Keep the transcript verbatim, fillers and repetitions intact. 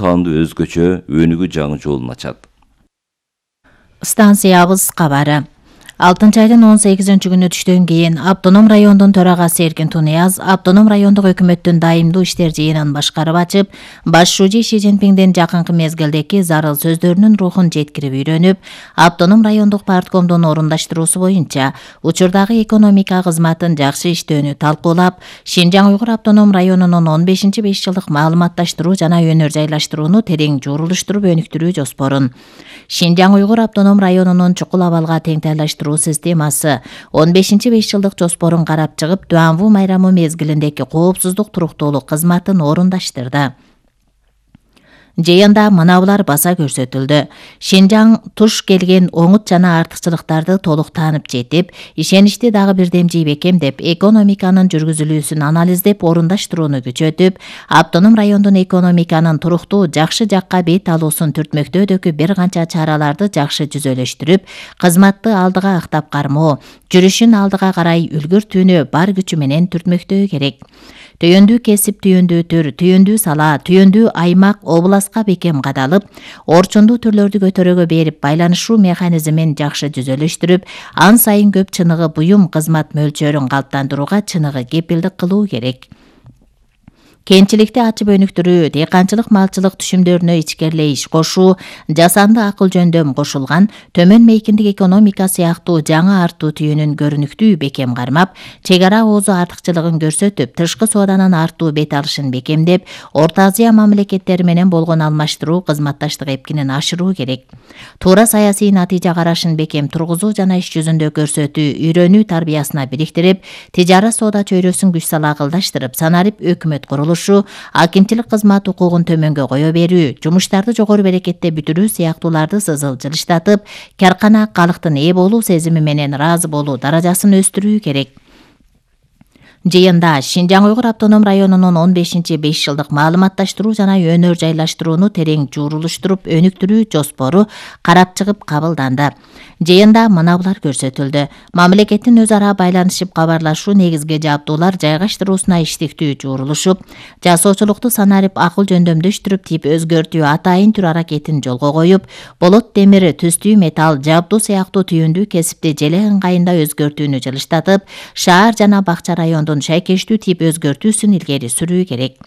таандуу өзгөчө өнүгүү жаңы жолун ачат. Станциябыз кабары. алтынчы айдын он сегизинчи күнү түштөн кийин Автоном райондун төрагасы Эркин Тунияз Автоном райондук өкмөттүн дайымдуу иштер жыйынын башкарып ачып, баш шужи Ши Цзиньпиңдин жакынкы мезгилдеки зарыл сөздөрүнүн рухун жеткирип үйрөнүп, Автоном райондук парткомдун орундаштыруусу боюнча учурдагы экономика кызматын жакшы иштөөнү талкуулап, Шинжаң Уйгур автоном районунун он бешинчи беш жылдык маалыматташтыруу жана өнөр жайлаштырууну терең журулуштуруп өнүктүрүү жоспорун, Шинжаң Уйгур автоном районунун чукул абалга теңтайлаштыруу системасы он бешинчи беш жылдык жоспорун карап чыгып, Дуанву майрамы мезгилиндеки коопсуздук туруктуулук кызматын орундаштырды. Жыйында мынабулар баса көрсөтүлдү. Шинжаң туш келген оңут жана артыкчылыктарды толук таанып жетип, ишеничти дагы бирдемжий бекемдеп, экономиканын жүргүзүлүүсүн анализдеп, орундаштырууну күчөтүп, автоном райондун экономиканын туруктуу, жакшы жакка бет алуусун түртмөктөөдөгү бир канча чараларды жакшы жүзөлөштүрүп, кызматты алдыга актап кармоо, жүрүшүн алдыга карай үлгүртүүнү бар күчү менен түртмөктөө керек. Түйөндүү кесип, түйөндүү түр, түйөндүү сала, түйөндүү аймак, обласка бекем кадалып, орчундуу түрлөрдү көтөрөгө берип, байланышуу механизмин жакшы жүзөлөштүрүп, ан сайын көп чыныгы буюм кызмат мөлчөрүн калыптандырууга чыныгы кепилдик кылуу керек. Кенчиликти ачып өнүктүрүү, дыйканчылык малчылык түшүмдөрүнө ичкерлей иш кошуу, жасанды акыл жөндөм кошулган, төмөн мейкиндик экономика сыяктуу жаңы артуу түйүнүн көрүнүктүү бекем кармап, чек ара оозу артыкчылыгын көрсөтүп, тышкы сооданын артуу бет алышын бекемдеп, Орто Азия мамлекеттери менен болгон алмаштыруу кызматташтык эпкинин ашыруу керек. Туура саясий натыйжа карашын бекем тургузуу жана иш жүзүндө көрсөтүү, үйрөнүү тарбиясына бириктирип, тижара соода чөйрөсүн күч сала акылдаштырып, санарип өкмөт курулушу, акимчилик кызмат укугун төмөнгө кое берүү, жумуштарды жогору берекетте бүтүрүү сыяктууларды сызыл жылыштатып, каркана калктын ээ болуу сезими менен ыраазы болуу даражасын өстүрүү керек. Жыйында Шинжаң Уйгур автоном районунун он бешинчи беш жылдык маалыматташтыруу жана өнөр жайлаштырууну терең журулуштуруп өнүктүрүү жоспору карап чыгып кабылданды. Жыйында мынабулар көрсөтүлдү. Мамлекеттин өз ара байланышып кабарлашуу негизги жабдуулар жайгаштыруусуна иштиктүү журулушуп, жасоочулукту санарип акыл жөндөмдөштүрүп, тип өзгөртүү, атайын түр аракетин жолго коюп, болот темири, түстүү металл, жабдуу сыяктуу түйүндүү кесипти желе ыңгайында өзгөртүүнү жылыштатып, шаар жана бакча райондун шайкештүү тип өзгөртүүсүн илгери сүрүү керек.